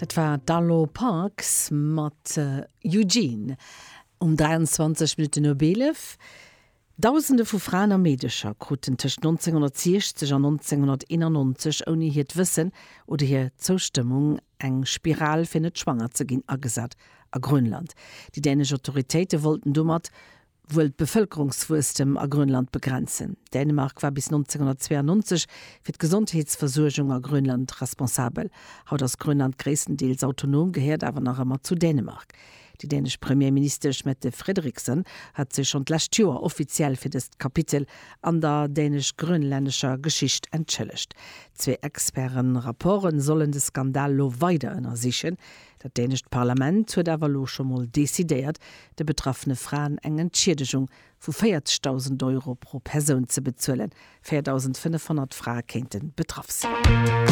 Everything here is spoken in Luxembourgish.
Dat war d'Arlo Parks mat Eugene um 23 Minutten op 11. Dausende vu Fraen a Meedecher kruten tëscht 1960 an 1991 ouni hiert Wëssen oder hir Zoustëmmung eng Spiral fir net schwanger ze ginn agesat a Grönland. Déi dänesch Autoritéite wollten domat wuel d'Bevëlkerungswuesstem a Grönland begrenzen. Dänemark war bis 1992 fir d'Gesondheetsversuergung a Grönland responsabel. Haut ass Grönland gréisstendeels autonom, gehéiert awer nach ëmmer zu Dänemark. Déi dänesch Premierministesch Mette Frederiksen hat sech schonn d'lescht Joer offiziell fir dëst Kapitel an der dänesch-grönlännescher Geschicht entschëllegt. Zwee Experte-Rapporte sollen de Skandal lo weider ënnersichen. Dat dänescht Parlament huet awer elo scho mol decidéiert, de betraffene Fraen eng Entschiedegung vu 40.000 Euro pro Persoun ze bezuelen. 4.500 Frae kéinte betraff sinn.